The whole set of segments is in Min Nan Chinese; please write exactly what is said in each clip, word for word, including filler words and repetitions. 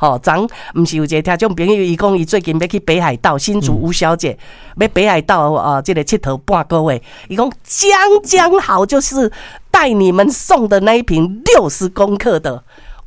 吼，昨毋是有一个聽眾朋友，伊講伊最近欲去北海道，新竹吳小姐欲北海道啊，這個𨑨迌半個月，伊講將將好，就是帶你們送的那一瓶六十公克的，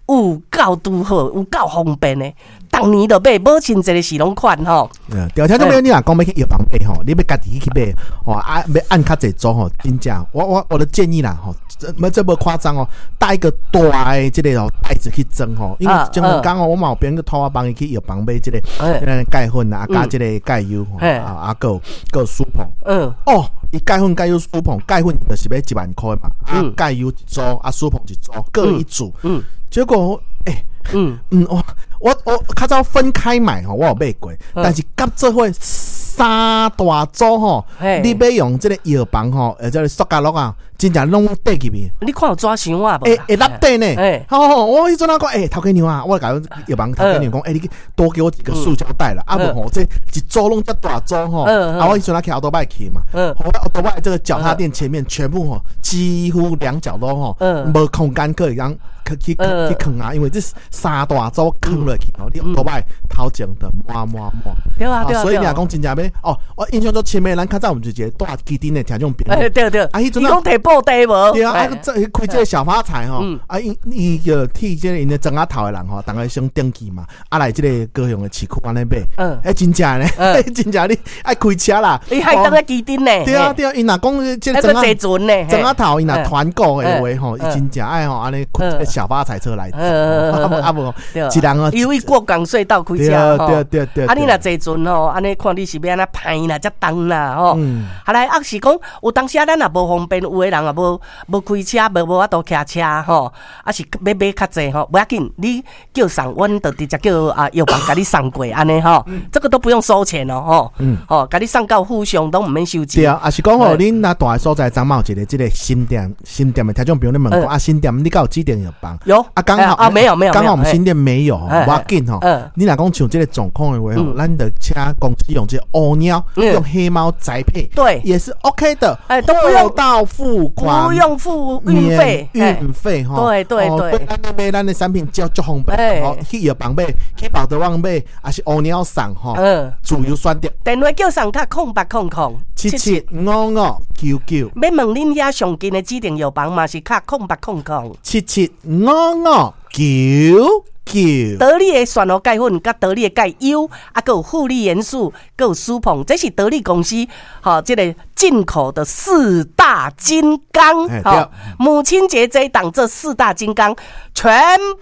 有夠拄好，有夠方便的。逐年都買，母親節時攏款吼。對，聽眾朋友，你若講欲去藥房買吼，你欲家己去買吼，啊，欲按較濟組吼，真正，我我我的建議啦吼，這這無誇張哦，帶一個大的這個哦袋子去裝吼，因為前兩工哦，我嘛有朋友託我幫伊去藥房買這個，鈣粉啊，加這個鈣油，啊，啊，閣有閣有舒膨，嗯，哦，伊鈣粉、鈣油、舒膨，鈣粉就是欲一萬箍嘛，啊，鈣油一組，啊，舒膨一組，各一組，嗯，結果，欸，嗯嗯，我我我較早分開買吼，我有買過，但是夾做伙三大組吼，你欲用這個藥房吼，或者塑膠袋啊，真正攏綴入去。你看有紙箱啊無？會會落底呢。吼，我彼陣仔講，欸，頭家娘啊，我共藥房頭家娘講，欸，你多給我幾個塑膠袋啦，啊無吼，這一組攏遮大組吼，啊，我彼陣仔騎歐多拜去嘛，我歐多拜這個腳踏墊前面全部吼，幾乎兩腳都吼，無空間可以讓去去去囥啊，因為這三大組囥落去吼，你歐多拜頭前就滿滿滿。對啊對啊。所以你若講真正欲哦，我印象中前面咱較早有一個住旗津的聽眾朋友，對對，啊，彼陣伊講提布袋無？對啊，啊，這開這個小發財吼，啊，伊伊就替這個𪜶的莊仔頭的人吼，逐家先登記嘛，啊來這個高雄的市區按呢買，嗯，欸，真正呢，真正你愛開車啦，伊還當咧旗津呢？對啊對啊，伊若講這個莊仔船呢，莊仔頭伊若團購的話吼，伊真正愛吼按呢開這個小發財車來，啊無，一人哦，因為過港隧道開車吼，對對對，啊你若坐船吼，按呢看你是欲按怎歹啦，遮重啦吼，啊來啊是講有當時啊，咱也無方便，有的人也無無開車，無無法度騎車吼，啊是欲買較濟吼，無要緊，你叫送，阮就直接叫啊藥房共你送過按呢吼，這個都不用收錢哦吼，吼，共你送到府上攏毋免收錢。對啊，啊是講吼，恁若住的所在，昨嘛有一個這個新店，新店的聽眾朋友你問講啊，新店你敢有指定藥房？有啊，剛好啊，沒有沒有，剛好我們新店沒有，無要緊吼。你若講像這個狀況的話吼，咱就請公司用這個烏貓，用黑貓宅配，對，也是 OK 的，哎，都不用到付款，不用付運費，運費吼，對對對，咱買咱的產品足足方便，吼，去藥房買，去寶特旺買，抑是烏貓送吼，嗯，自由選擇。電話叫送敲空八空空七七五五九九，欲問恁遐上近的指定藥房嘛是敲空八空空七七五五九九。得力的蒜頭鈣粉，佮得力的鈣油，啊，閣有護理元素，閣有舒膨，這是得力公司吼，這個進口的四大金剛。吼，母親節這一檔，這四大金剛全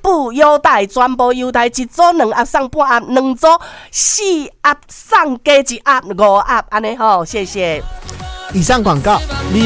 部優待，全部優待，一組兩盒送半盒，兩組四盒送加一盒五盒，按呢吼，謝謝。以上廣告。